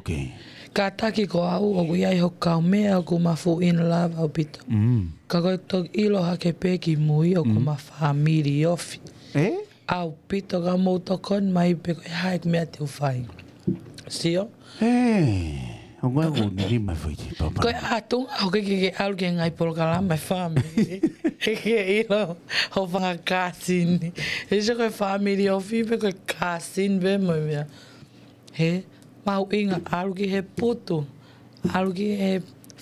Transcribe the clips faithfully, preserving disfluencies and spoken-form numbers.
Okay. Kātaki ko au ʻoku ʻi ai hoku kaumeʻa ʻoku ma fuʻu in love ʻaupito. Mm. Ka ko e toki ʻilo hake pē ki mui ʻoku ma family ofi. Eh? ʻAupito ka mou tokoni mai pe ko e hā e meʻa te u fai. Sio? Eh, ʻo ngai ʻoku nili mai foʻi te papa. Ko e ʻatunga ʻoku ke ke ʻalu ki he ngaahi polokalama e family. He ke ʻilo ho fanga cousin. He sio ko e family ofi pe ko e cousin pe mo e meʻa. He, mahuʻinga ʻalu ki he putu, ʻalu ki he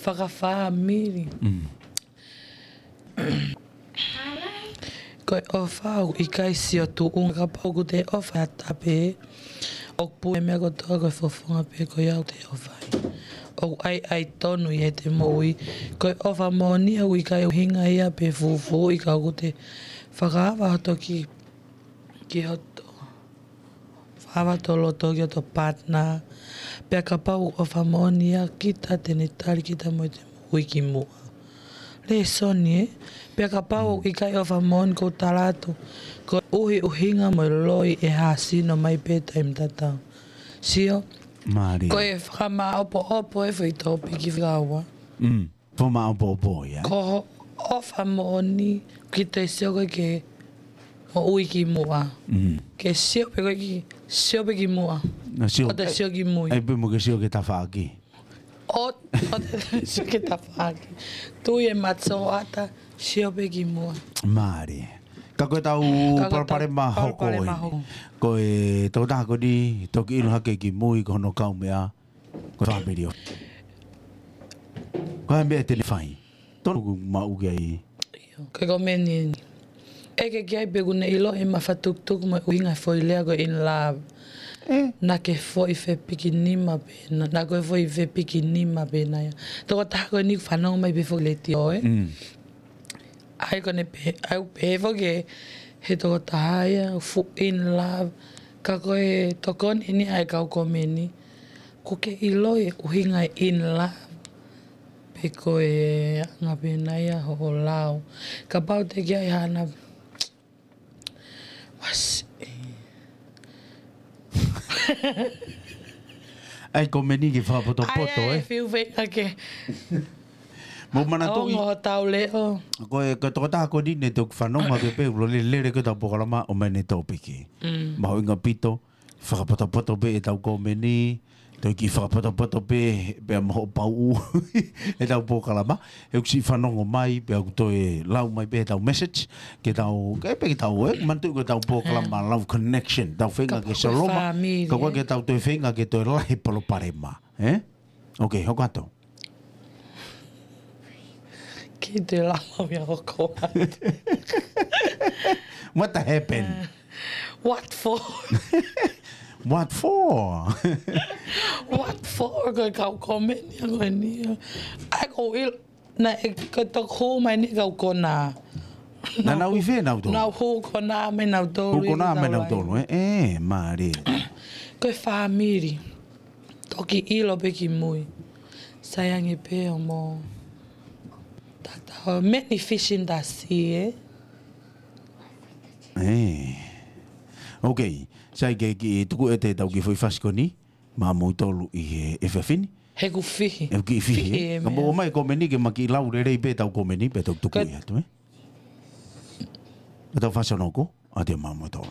fakafāmili. Mm. Ko e ʻofa ʻoku ʻikai sio tuʻunga kapau ʻoku te ʻofa ʻa tape. ʻOku pue meʻa kotoa ko e fofonga pē ko ia ʻoku te ʻofa ai. ʻOku ʻai ʻai tonu ʻi heʻete moʻui. Ko e ʻofa moʻoni ʻoku ʻikai ʻuhinga ia pe fufuuʻi ka ʻoku te fakaava hoto ki, ki hoto fakaava hoto loto ki hoto partner. Pea kapau ʻoku ʻofa moʻoni ia kita te ne tali kita mo ʻete moʻui ki muʻa. Lēsoni, ē? Pea kapau ʻoku ʻikai ʻofa moʻoni kou tala atu. Ko e ʻuhi ʻuhinga mo e loi ʻe hāsino mai pē taimi tatau. Sio? Mālie. Ko e fakamāʻopoʻopo e foʻi tōpiki fakaua. Mm. Fakamāʻopoʻopo ia. Ko hoʻo ʻofa moʻoni ki te sio ko ē ke moʻui ki muʻa. Mm. Ke sio pē ko ē ki, sio pē ki muʻa. Na sio. Ko te sio ki mui. Ai pē mo ke sio ke tafaʻaki. ʻO, ʻo te sio ke tafaʻaki. Tui e mate soata, sio pē ki muʻa. Mālie. Ka ko e tau Ka ko e tau palopalema hoko palopalema eni. Hoko. Ko e tokotaha ko eni, toki ʻilo hake ki mui ko hono kaumeʻa. Ko e family ofi. Ko e meʻa te ne fai. Tonu ʻoku maʻu ki ai. ʻIo, ko e komeni eni. ʻEke ki ai pe ʻoku ne ʻilo e mafatukutuku mo e ʻuhinga e foʻi lea ko e in love. Eh. Naʻa ke foʻi fepikinima pē na, naʻa ko e foʻi fepikinima pē na ia. Tokotaha ko eni ʻoku fanongo mai pē foʻi letiō, ē? Mm. ʻAi ko ʻene pehē, ʻai pehē foki he tokotaha ia, fuʻu in love. Ka ko e tokoni eni ʻa e kau komeni. ʻOku ke ʻilo e ʻuhinga e in love. Pe ko e anga pē na ia hoʻo lau. Kapau te ke ʻai hana. Wasi. ʻAi komeni ke fakapotopoto, ʻAi, ʻai, ē? Fiu feinga ke. Mo manatuʻi. Ongo tau leʻo. Ko e, ko e tokotaha ko eni ne toki fanongo hake pē, ulo lele, lele ko e tau polokalama ʻomai ʻene tōpiki. Mm. Mahuʻinga ʻaupito, fakapotopoto pē e tau komeni, toki fakapotopoto pē, pea mo hoʻo pauʻu, e tau polokalama, he ʻoku siʻi fanongo mai, pea ʻoku toe lau mai pē e tau message, ke tau, ke pē ke tau, ē, manatuʻi ko e tau polokalama, Mm. Love Connection, tau feinga Ka ke ko e soloma, fāmili, ka ko ē. Ke tau toe feinga ke toe lahi palopalema, ē? Okay, hoko atu. Ki te lama mea hoko atu. What happened? Uh, what for? What for? What for? Ko e kau komeni ko eni. ʻAi ko il, na e ko toku mai ni kau kona. Na nau ʻi fē nautolu? Nau hū kona mai nautolu. Hū kona mai nautolu, ē? Ē, mālie. Ko e fāmili. Toki ʻilo pē ki mui. Sai ange pē ʻo mo. Tata, many fish in the sea, ē? Ē. Okay. Sai ke ki tuku ʻete tau ki foʻi fasikoni. Maʻamoutolu ʻi he, he efiafi ni. He ʻoku fihi. He ʻoku kiʻi fihi, Fihi, ē? ʻĒ, Ka mou meʻa. ʻOmai komeni ke ma kiʻi lau lelei pē tau komeni pē tau tuku Ka ʻi atu, ē? Ka tau fasionoko, ʻa te maʻamoutolu.